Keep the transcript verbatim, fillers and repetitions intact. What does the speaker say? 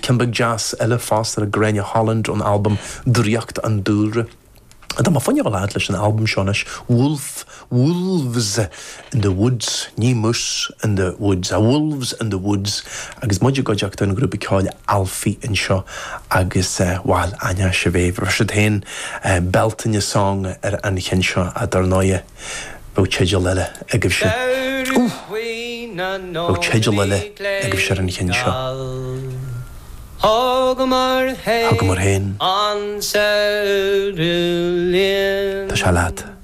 Ceann beag deas eile fosta le Gráinne Holland ón albam Draíocht an Dúlra. Tá mé fá choinne dul leis an albam seo anois Wolf Wolves in the Woods ní Moose in the Woods a Wolves in the Woods agus muid i gcuideachta an grúpa ceoil Alfie anseo agus bhuel aine se bhéh siad féin Beltane Song ar an cheann seo a dar ndóigh bheadh teideal eile agaibhse. Bheadh teideal eile agaibhse ar an cheann seo. Thugamar Thugamar féin an samhradh linn Tá sé leat.